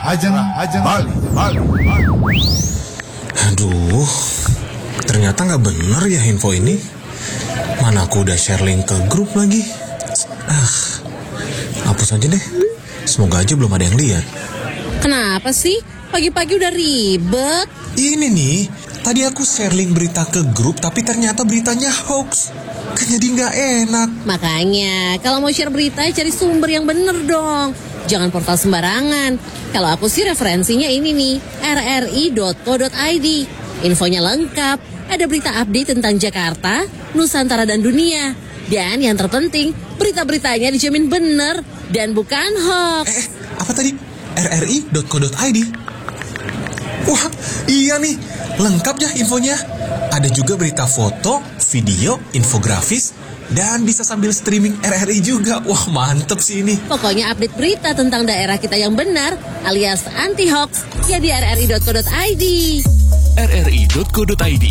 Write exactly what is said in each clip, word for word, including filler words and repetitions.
Ajeng, ajeng. Bali, Bali, Bali. Aduh, ternyata nggak bener ya info ini. Mana aku udah share link ke grup lagi. Ah, hapus aja deh. Semoga aja belum ada yang lihat. Kenapa sih? Pagi-pagi udah ribet. Ini nih, tadi aku share link berita ke grup, tapi ternyata beritanya hoax. Kan jadi nggak enak. Makanya, kalau mau share berita, cari sumber yang bener dong. Jangan portal sembarangan. Kalau aku sih referensinya ini nih, R R I dot co dot I D. Infonya lengkap, ada berita update tentang Jakarta, Nusantara dan dunia. Dan yang terpenting, berita-beritanya dijamin bener dan bukan hoax. Eh, eh, apa tadi? R R I dot co dot I D. Wah, iya nih, lengkap ya infonya. Ada juga berita foto, video, infografis, dan bisa sambil streaming R R I juga. Wah, mantep sih ini. Pokoknya update berita tentang daerah kita yang benar alias anti hoax ya di R R I dot co dot I D. R R I dot co dot I D,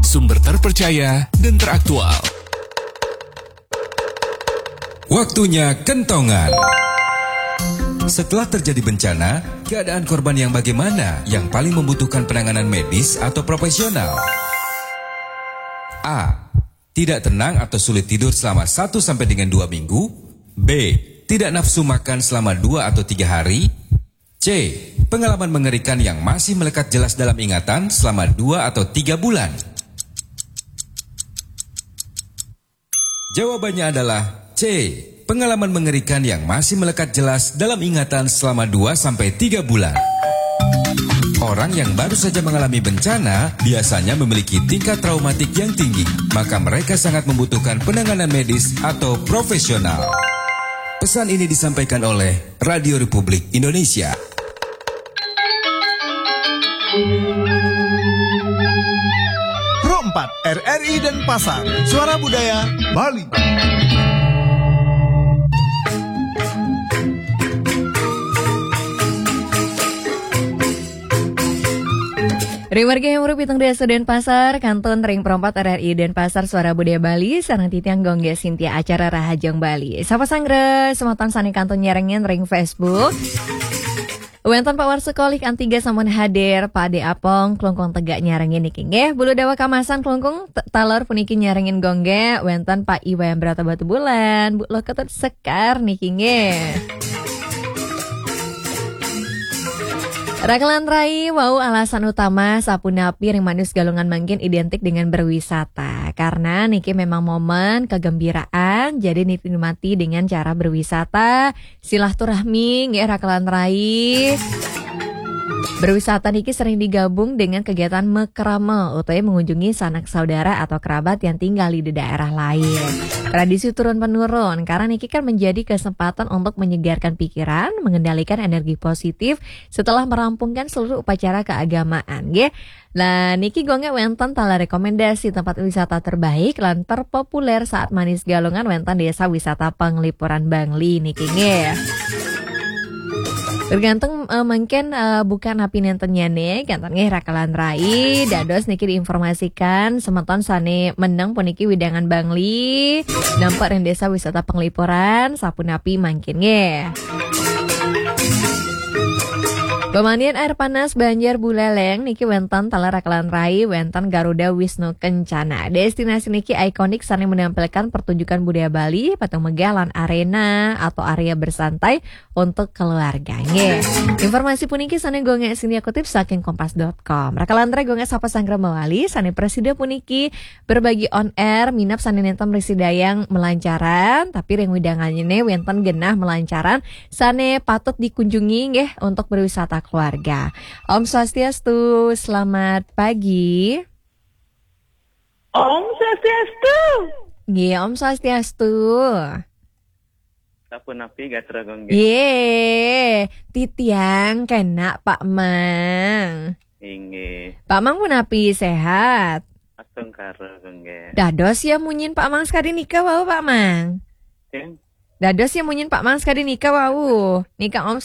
sumber terpercaya dan teraktual. Waktunya kentongan. Setelah terjadi bencana, keadaan korban yang bagaimana yang paling membutuhkan penanganan medis atau profesional? A. Tidak tenang atau sulit tidur selama satu sampai dengan dua minggu. B. Tidak nafsu makan selama dua atau tiga hari. C. Pengalaman mengerikan yang masih melekat jelas dalam ingatan selama dua atau tiga bulan. Jawabannya adalah C. Pengalaman mengerikan yang masih melekat jelas dalam ingatan selama dua sampai tiga bulan. Orang yang baru saja mengalami bencana biasanya memiliki tingkat traumatik yang tinggi, maka mereka sangat membutuhkan penanganan medis atau profesional. Pesan ini disampaikan oleh Radio Republik Indonesia. Pro empat, R R I Denpasar, Suara Budaya Bali. Ring wargi yang merupakan desa Denpasar, kantun ring Pro empat R R I Denpasar, Suara Budaya Bali, sareng titiang Gung Gé Sintia, acara Rahajeng Bali. Sapa sanggra, semeton sané kantun nyarengin ring Facebook. Wénten Pak Warsa Kolih Antiga sampun hadir, Pak Ade Apong, Klungkung Tegak nyarengin niki nggih. Bulu Dawa Kamasan Klungkung t-, taler puniki nyarengin Gung Gé, wénten Pak Iwan Brata Batubulan, Bu Lo Ketut Sekar niki nggih. Rakelan rai, wau alasan utama sapunapi ring manus Galungan mangkin identik dengan berwisata. Karena niki memang momen kegembiraan, jadi nikmati dengan cara berwisata, silaturahmi, nggih, rakelan rai. Berwisata niki sering digabung dengan kegiatan mekrama, utawi mengunjungi sanak saudara atau kerabat yang tinggal di daerah lain. Tradisi turun-penurun, karena niki kan menjadi kesempatan untuk menyegarkan pikiran, mengendalikan energi positif setelah merampungkan seluruh upacara keagamaan, nggih. Lah, niki Gung Gé wénten taler rekomendasi tempat wisata terbaik lan terpopuler saat manus Galungan, wénten Desa Wisata Penglipuran Bangli niki nggih. Tergantung, eh, mangkin, eh, buka napi nénten nyané, kénten nggih rakelan rai, dados niki diinformasikan semeton sané meneng puniki wewidangan Bangli, nampak ring Desa Wisata Penglipuran, sapunapi mangkin nggih. Pemandian air panas Banjar Buleleng niki wénten taler rakelan rai, wénten Garuda Wisnu Kencana. Destinasi niki ikonik sané menampilkan pertunjukan budaya Bali, patung megah lan arena atau area bersantai untuk keluarga. Nggih. Informasi puniki sané Gung Gé Sintia kutip saking kompas dot com. Rakelan rai, Gung Gé sapa sanggra mawali sané prasida puniki berbagi on air, minab sané nénten mrasida yang melancaran, tapi ring wewidangan nyané wénten genah melancaran sané patut dikunjungi nggih untuk berwisata keluarga. Om Swastiastu, selamat pagi. Om Swastiastu. Nggih, Om Swastiastu. Sapunapi gatra Gung Gé? Yé, titiang kena Pak Mang. Inggih. Pak Mang punapi, sehat? Astungkara Gung Gé. Dados ya munyin Pak Mang sekadi nika wau, Pak Mang. Sing? Dados ya munyin Pak Mang sekadi nika wau. Nika Om